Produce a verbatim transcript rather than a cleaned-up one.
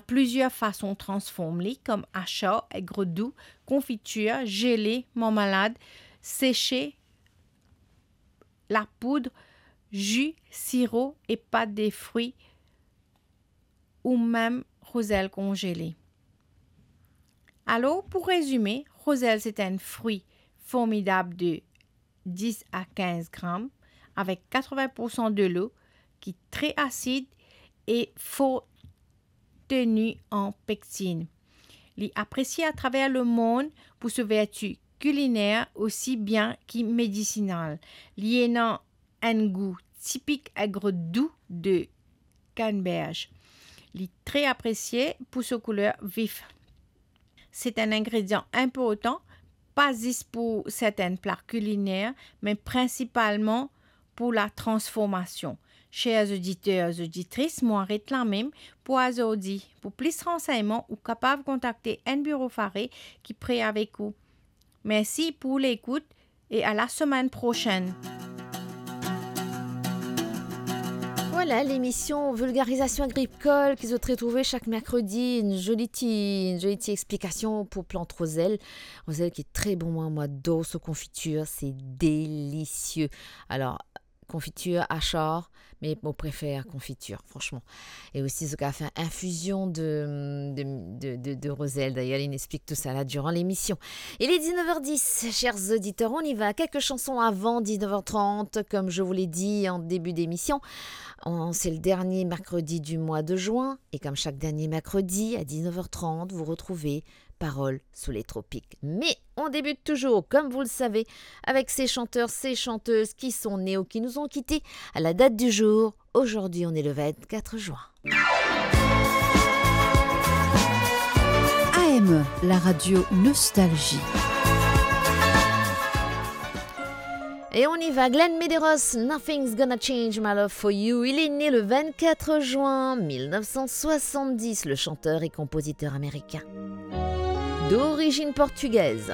plizier fason transform li, kom asar, egr dou, konfitir, zele, marmalad, sese, lapoud, zi, siro e pat de fri, ou mem rozel konzele. Alor, pou rezime, rozel se enn fri formidab de dis a kinz gram, avek katrevin poursan delo, ki tre asid e for teni an pektin. Li apresie atraver lemond pou so verti kiliner osi bien ki medisinal. Li ena enn gou tipik egr dou de Canneberge. Li tre apresie pou so kouler vif. Se enn ingredian inportan, pa zis pou sertin pla kiliner, me prinsipalman pou latransformasion. Cher oditer, oditris, mo aret la mem pou azordi. Pou plis ransegnman, ou kapav kontakte enn biro Faré ki pre avek ou. Mersi pou lekout e a la semenn prosenn. Vwala, lemision Vulgarizasion Agrikol ki zot retrouve sak merkredi, enn zoli ti, enn zoli ti explikasion pou plant rozel. Rozel ki tre bon, mwa, mo ador so konfitir, se delisie. Alor, konfitir asar, me mo prefer konfitir, fransman. E osi, zot kapav fer infizion de, de, de, de, de rozel. D'ailleurs, li explik tou sa la durant lemision. Il est dix-neuf heures dix, chers auditeurs, on y va. Quelques chansons avant dix-neuf heures trente. Comme je vous l'ai dit en début d'émission, on, c'est le dernier mercredi du mois de juin. Et comme chaque dernier mercredi, à dix-neuf heures trente, vous retrouvez Parole sous les tropiques. Mais on débute toujours, comme vous le savez, avec ces chanteurs, ces chanteuses qui sont nés ou qui nous ont quittés à la date du jour. Aujourd'hui, on est le vingt-quatre juin. A M, la radio Nostalgie. Et on y va, Glenn Medeiros, Nothing's Gonna Change My Love For You. Il est né le vingt-quatre juin mille neuf cent soixante-dix, le chanteur et compositeur américain. D'origine portugaise.